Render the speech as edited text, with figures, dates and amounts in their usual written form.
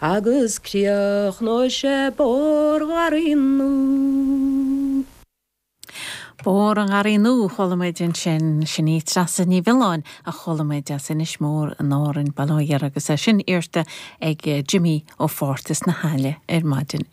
Agus críochnóidh sé Bóthar Gharraí Nua. Bóthar an Gharraí Nua, chuala muid ansin. Sin í Treasa Ní Mhiolláin a chuala muid as Inis Mór in Árainn, Baile Átha Ghiorra agus é sin iarrta ag Jimí ó Phárthas na hAille ar maidin.